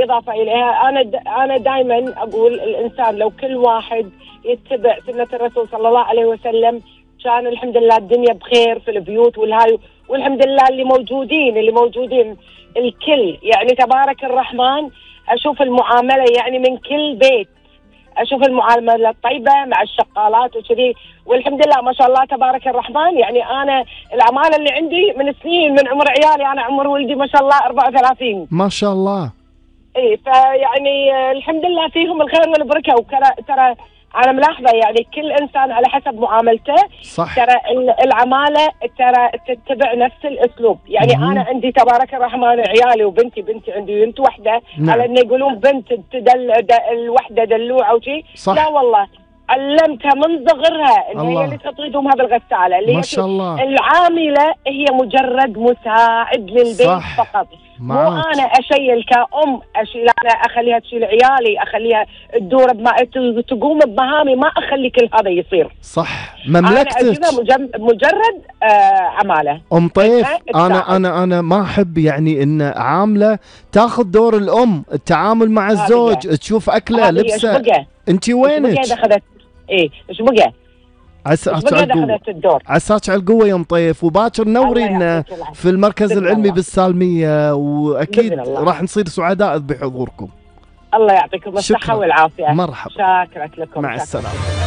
إضافة إليها، أنا دائما أقول الإنسان لو كل واحد يتبع سنة الرسول صلى الله عليه وسلم كان الحمد لله الدنيا بخير في البيوت والهاي، والحمد لله اللي موجودين الكل يعني تبارك الرحمن. أشوف المعاملة يعني من كل بيت، أشوف المعاملة الطيبة مع الشقالات وكذي، والحمد لله ما شاء الله تبارك الرحمن. يعني أنا العمالة اللي عندي من سنين، من عمر عيالي، أنا عمر ولدي ما شاء الله 34 ما شاء الله. اي فيعني الحمد لله فيهم الخير والبركه. ترى انا ملاحظه يعني كل انسان على حسب معاملته. صح. ترى العماله ترى تتبع نفس الاسلوب. يعني انا عندي تبارك الرحمن عيالي وبنتي عندي بنت واحده. نعم. على ان يقولون بنت الوحده دلوعه وشي. لا والله علمتها من صغرها ان هي اللي تطوي دومها بالغساله، اللي ما شاء الله. العامله هي مجرد مساعد للبيت فقط. مو انا اشيل كأم، انا اخليها تشيل عيالي، اخليها تدور تقوم بمهامي، ما اخلي كل هذا يصير. صح. مملكتك مجرد عماله. ام طيف، انا ما احب يعني ان عامله تاخذ دور الام، التعامل مع الزوج، تشوف اكله لبسه. انت وينك؟ ايش بقى ايش بقى؟ عساك على القوة يا ام طيف، وباكر نورينا في المركز العلمي بالسالمية، واكيد راح نصير سعداء بحضوركم. الله يعطيكم الصحة والعافية. مرحبا. شاكرة لكم. مع السلامة.